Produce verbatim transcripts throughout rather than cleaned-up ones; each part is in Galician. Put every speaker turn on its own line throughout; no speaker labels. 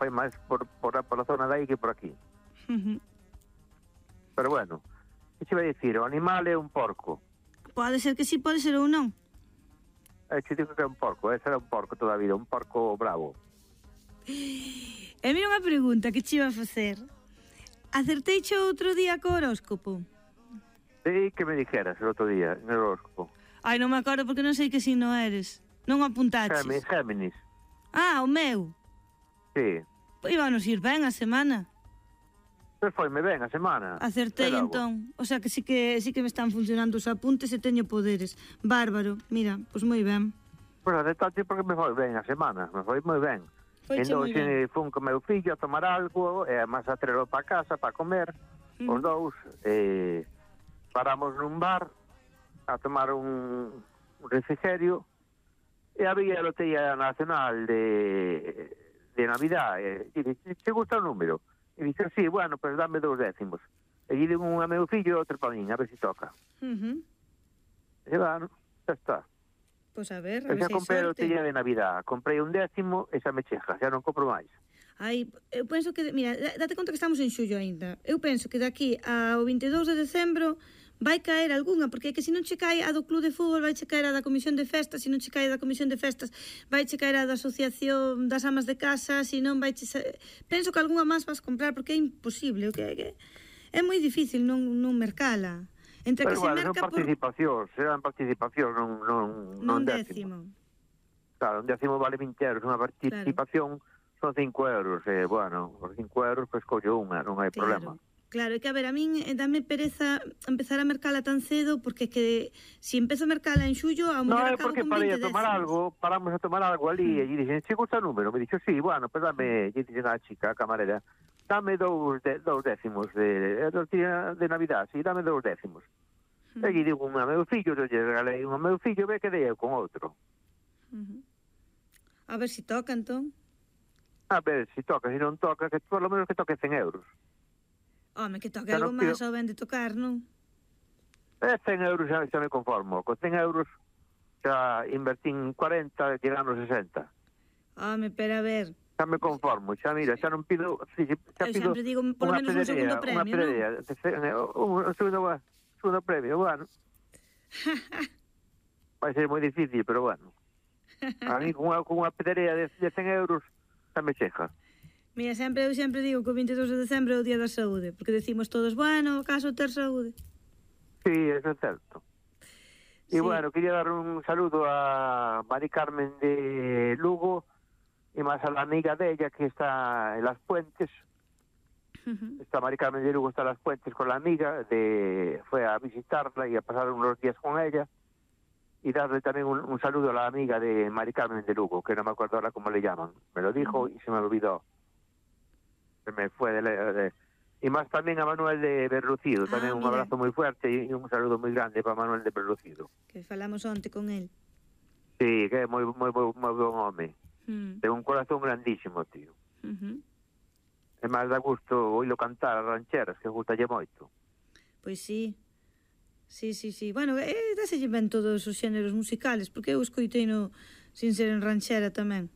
foi máis por, por, por a zona de aí que por aquí.
Uh-huh.
Pero bueno, que che vai dicir? O animal é un porco.
Pode ser que sí, pode ser ou non.
É que digo que é un porco, ese era un porco toda a vida, un porco bravo.
E mira unha pregunta que che iba a facer. Acertei cho outro día co horóscopo?
Sí, que me dijeras el outro día, en el horóscopo.
Ai, non me acordo porque non sei que signo eres. Non o apuntaches.
Géminis, Géminis.
Ah, o meu.
Sí.
Pois íbanos ir ben a semana.
Pois foi-me ben a semana.
Acertei entón. O sea que sí que sí que me están funcionando os apuntes e teño poderes. Bárbaro. Mira, pois moi ben.
Pois a detalle porque me foi ben a semana. Me foi moi ben.
Foiche moi ben.
Entón, fun con meu fillo a tomar algo, e a máis a trelo para casa, para comer, mm. os dous, e paramos nun bar a tomar un, un refrigerio, e había a Lotería Nacional de, de Navidad, e dice, te gusta o número? E dice, sí, bueno, pues dame dous décimos. E lle digo un a meu fillo e outro para min, a ver se si toca.
Uh -huh.
E bueno, xa está.
Pois a ver,
E
a ver
xa
se hai
comprei a
sorte.
Lotería de Navidad, comprei un décimo e xa me cheja, xa non compro máis.
Ai, eu penso que, mira, date conta que estamos en xullo aínda. Eu penso que daqui ao vinte e dous de decembro vai caer algunha, porque é que se non che cae a do club de fútbol, vai che caer a da comisión de festas, se non che cae a da comisión de festas, vai che caer a da asociación das amas de casa, se non vai che... Penso que algunha máis vas comprar, porque é imposible, o que é que é moi difícil non, non mercala. Entre
Pero
que
bueno,
se merca
son participacións, por... serán participacións, non, non, non décimo. décimo. Claro, un décimo vale vinte euros, unha participación claro. Son cinco euros, e, bueno, por cinco euros, pois pues, collo unha, non hai
claro.
problema.
Claro, é que a ver, a min dame pereza empezar a mercala tan cedo, porque que se si empezo a mercala en xullo, a mellor acabo con
No, é porque
vinte
para ir a tomar
décimos.
algo, paramos a tomar algo ali, mm. e lle dixen, che gusta o número? Me dixo, sí, bueno, pues dame, lle dixen a chica, a camarera, dame dous, de, dous décimos de, de, de Navidad, sí, dame dous décimos. Mm. E lle digo a meu fillo, eu lle regalei un a meu fillo, ve que dei eu con outro.
Uh -huh. A ver si toca, entón.
A ver, si toca, si non toca, que por lo menos que toque cen euros.
Home, que toque algo máis ao ben de tocar, non?
Eh, cen euros xa, xa me conformo. Con cen euros xa invertín cuarenta, llegando a sesenta.
Home, pero a ver...
Xa me conformo, xa mira, xa non pido... Xa
eu
pido
sempre digo, por lo menos un segundo premio,
non? Unha pedrea, un, un segundo, segundo premio, bueno. Vai ser moi difícil, pero bueno. A mí con unha, con unha pedrea de, de cen euros xa me cheja.
Mira, sempre, eu sempre digo que o vinte e dous de decembro é o Día da Saúde, porque decimos todos, bueno, caso ter saúde.
Sí, eso é certo. E sí. Bueno, quería dar un saludo a Mari Carmen de Lugo e máis a la amiga de ella que está en Las Puentes. Uh-huh. Está Mari Carmen de Lugo, está en Las Puentes con la amiga, de fue a visitarla y a pasar unos días con ella. Y darle también un, un saludo a la amiga de Mari Carmen de Lugo, que no me acuerdo ahora cómo le llaman. Me lo dijo uh-huh. y se me olvidó. Se me fue de, de... Y más también a Manuel de Berlucido, ah, también un mira. Abrazo muy fuerte y un saludo muy grande para Manuel de Berlucido.
Que falamos onte con él.
Sí, que é moi, moi, moi, moi bon home. Mm. Ten un corazón grandísimo, tío.
Uh-huh.
É máis da gusto oílo cantar as rancheras, que gustalle moito.
Pois sí. Sí, sí, sí. Bueno, eh, dáselle ben todos os xéneros musicales, porque eu escoitei no sin ser en ranchera tamén.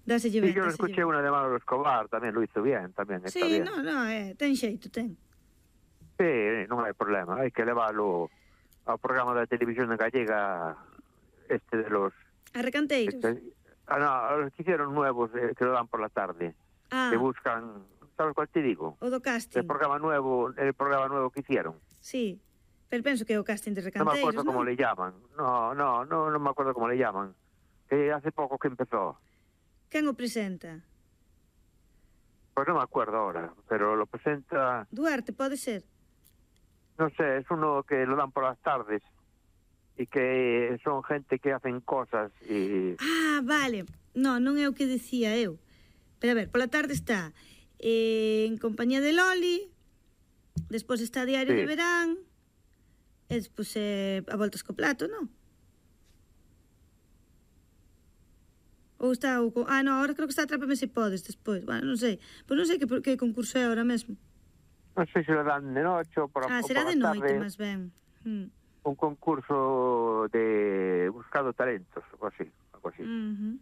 Dáselle ben.
E yo escuché unha de Manolo Escobar, tamén lo hizo bien, tamén está
sí,
bien.
Sí, no, no, eh, ten xeito, ten.
Sí, non hai problema, hai que leválo ao programa da televisión gallega este de los...
A Recanteiros?
Este, ah, no, los que hicieron nuevos, eh, que lo dan por la tarde. Ah. Que buscan... ¿Sabes cuál te digo?
O do casting.
El programa nuevo, el programa nuevo que hicieron.
Sí, pero penso que é o casting de Recanteiros,
no me acuerdo
¿no?
cómo le llaman. No, no, no, no me acuerdo cómo le llaman. Que hace poco que empezó.
¿Quen o presenta?
Pues no me acuerdo ahora, pero lo presenta...
Duarte, pode ser?
No sé, es uno que lo dan por las tardes y que son gente que hacen cosas y...
Ah, vale. No, non é o que decía eu. Pero a ver, pola tarde está eh, En compañía de Loli, despois está Diario sí. de Verán, e despois eh, A voltas co plato, non? Ou está o... Ah, no, ahora creo que está Atrápame se podes despois. Bueno, non sei. Pois non sei que, que concurso é ahora mesmo.
Non sei se lo dan de noche ou por a
Ah, será
por
de noite,
tarde.
máis ben. Hmm.
Un concurso de buscado talentos, algo así. Algo así.
Uh -huh.